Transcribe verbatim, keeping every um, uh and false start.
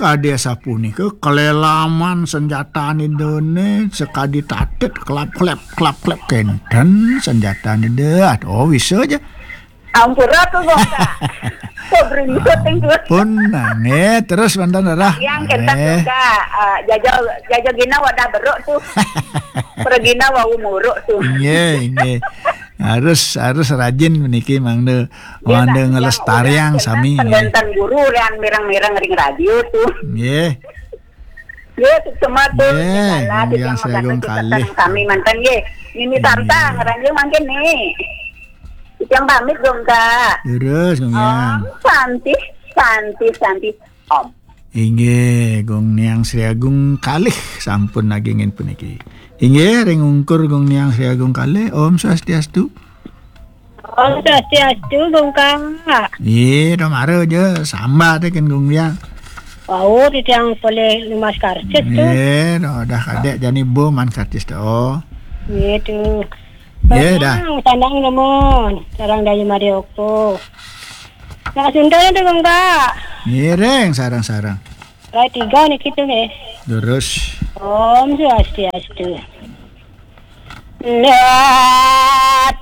Kadi sapunika kalelaman sanjatane dene sakadi tatet klap-klep, klap-klep kenten sanjatane deh. Oh, bisa aja. Ampura tuh, Bongka. Kok beringsut, Teng, tuh? Pun, nah, nggih, terus mantan darah. Yang kenten juga, eh, jaja, jaja gina wadah beruk tuh. Pergina wau muruk tuh. Nggih, nggih. Harus, harus rajin meniki mangda, mangda ngelestariang sami, nggih. Pendenten guru yang mireng-mireng ring radio tuh. Nggih. Nggih, semua tuh. Nggih, Nggih, Yang Sri Agung kalih. Sami mantan, nggih. Nini Santa, ngeranjing mangkin nih. Yang pamit dong, Kak. Terus, Om Yang. Santi, Santi, Santi. Om. Inggih, Gung Niang Sri Agung kalih sampun nagingin puniki. Inggih, ring ungkur Gung Niang Sri Agung kalih. Om Swastiastu. Om Swastiastu, Gung Kak. Iya, domara aja, samba teh kan Gung Niang. Wau, titiang polih lumas karcis tuh. Iya, dah kadek jani bo man karcis tuh. Iya tuh. Iya, dah. Sandang, sandang nemun. Sarang Dayu Marioko. Nah, Sunda itu, Gung Kak. Ngiring, sarang-sarang. Rai tiga nih kita, nggih. Terus. Om Swastiastu. Let